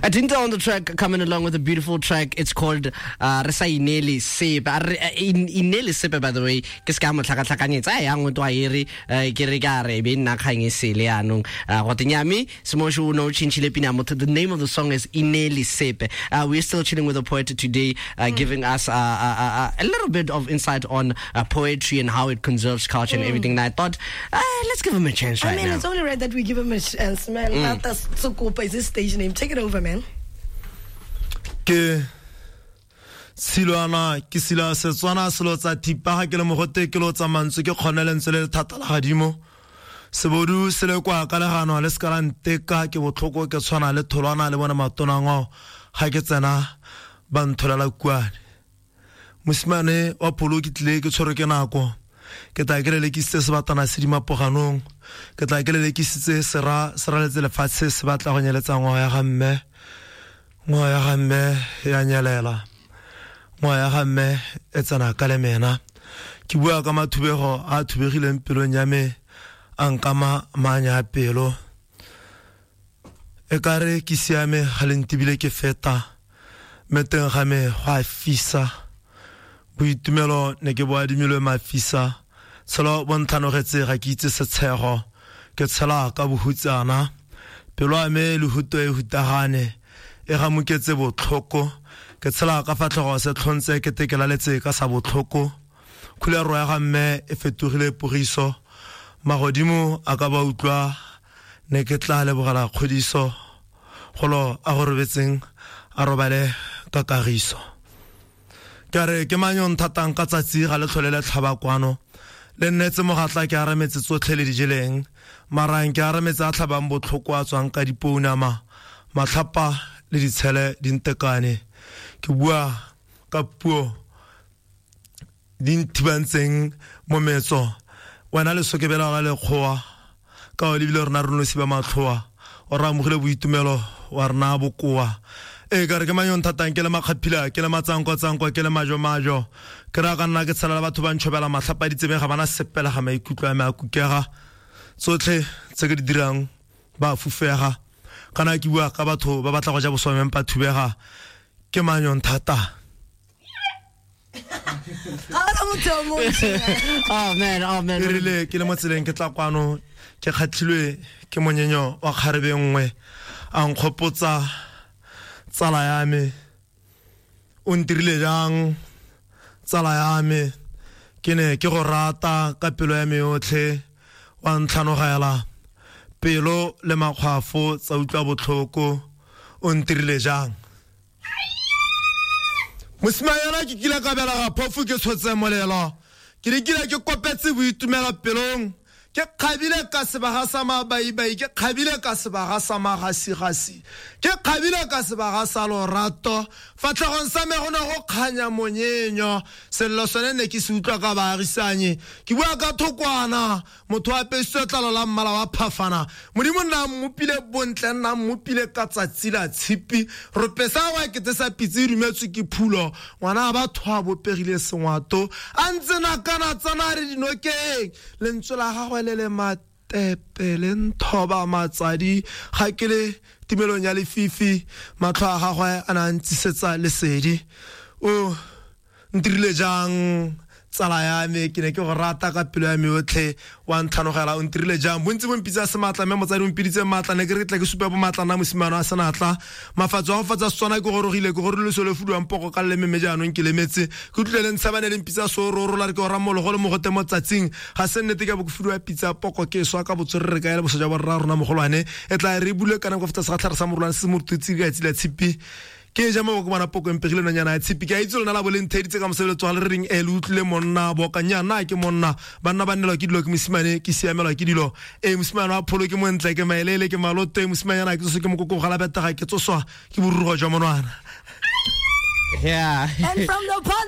Atinta on the track, coming along with a beautiful track. It's called Re sa Inele Sepe. Inele Sepe, by the way, ke se ka mo tlhakatlhakanyetsa a yang to a ere ke re ka re be nna kgang e sele yanong. Go tenyame Semosho o no tšhintšhile pina motho. The name of the song is Inele Sepe. We're still chilling with the poet today, giving us a little bit of insight on poetry and how it conserves culture and everything. And I thought, let's give him a chance right I mean, now. It's only right that we give him a chance, man. Tsokopa is his stage name. Take it over, man. Ke tshilwana ke sila Setswana selo tsa thipa ga ke le mogote ke lo tsa mantswe ke kgone lentswe le le thata la gadimo sebodu se le kwa ka legano le se ka la nteka ke botlhoko ke tshwana le tholwana le bone matonangwao ga ke tsena ba ntholela kuane. Mosimane wa pholo ke tlile ke tshwerwe ke nako ke tla ke lelekisitse sebatana se dimapoganong ke tla ke lelekisitse sera se raletse lefatshe se batla go nyeletsa ngwao ya ga mme, ngwao ya ga mme ya nyelela, ngwao ya ga mme e tsena ka lemena. Ke bua ka mathubego a thubegileng pelong ya me a nkama maanya a pelo e kare ke siame ga le ntibile ke feta mme teng ga me go a fisa. Boitumelo ne ke bo adimilwe mafisa tshelo bo ntlhanogetse ga ke itse setshego ke tshela ka bohutsana pelo ya me lehuto e hutagane e gamoketse botlhoko ke tshela ka fatlhego se tlhontse ke tekelaletse ka sa botlhoko khulero ya ga mme e fetogile pogiso magodimo a ka ba utlwa ne ke tla lebogela kgodiso golo a go robetseng a robale ka kagiso. Ke re ke mang yo nthatang ka tsatsi ga le tlhole le tlhaba kwano le nnetse mogatla ke arametse tsotlhe le dijeleng marang ke arametse a tlhabang botlhoko a tswang ka dipounama matlhapa le ditshele di ntekane ke bua ka puo di nthibantseng mo metso wena le sokebela la lekgowa ka o lebile rona re nosi ba matlhoa o re amogile boitumelo wa rena bokoa. E ka re ke mang yo nthatang ke le makgaphila ke le matsanko-tsanko ke le majo-majo ke raya ka nna ke tshela le batho ba ntšhobela matlhapa ditsebeng ga bana sepela ga maikutlo a me a kukega tsotlhe tse ke di dirang ba fufega kana ke bua ka batho ba batla go ja boswameng ba thubega ke mang yo nthatang. Oh man, oh man. E rile ke le mo tseleng ke tla kwano ke kgatlhilwe ke monyenyo wa kgarebe nngwe a nkgopotsa tsala ya me o ntirile jang tsala ya me ke ne ke go rata ka pelo ya me yotlhe wa ntlhanogela pelo le makgwafo tsa utlwa botlhoko o ntirile jang. Mosimanyana ke kile ka belega phofu ke tshotse molelo ke dikile ke kopetse boitumelo pelong ke kgabile ka sebaga sa mabaibai ke kgabile ka sebaga sa magasigasi ke kgabile ka sebaga sa lorato fatlhegong sa me go ne go kganya monyenyo sello sone ne ke se utlwa ka baagisanye ke bua ka thokwana motho a apesitswe tlalo la mmala wa phafana modimo nna mmopile bontle nna mmopile ka tsatsi la tshipi ropesa wa kete sa pitse e dumetswe ke phulo ngwana a batho a bopegile sengwato a ntse nakana tsana re dinokeng lentswe la gagwe le le matepe le nthoba matsadi ga ke le timelong ya lefifi matlho a gagwe a ne a ntsisetsa lesedi o ntirile jang tsala ya me ke ne ke go rata ka pelo ya me yotlhe wa ntlhanogela o ntirile jang bontsi bo mpitsa sematla mme motsadi o mpiditse maatla ne ke re ke tla ke supe bomatla nna mosimane wa senatla mafatso a go fatsa Setswana ke gorogile ke gorile selo fuduwang poko ka leleme mme jaanong ke lemetse ke utlwile le ntshabane le mpitsa seororo la re ke ora mologo le mogote mo tsatsing ga se nnete ke bo ke fuduwa pitsa poko ke swa ka botswerere ka ele boso jwa borra rona mogolwane e tla re bule kana go feta segatlhare sa morolwane se morututsi ka tsila tshipi ke ja mo go bona poko empegile nonyana ya tshipi ke a itse lona la boleng theditse ka mosebeletso ga le re reng e le utlwile monna boka nyana ke monna banna ba nnelwa ke dilo ke mosimane ke siamelwa ke dilo e mosimane wa pholo ke montle ke maelele ke maloto e mosimanyana ke tsoswa ke mokoko go la betega ke tsoswa ke borurugo jwa monwana. Yeah. And from the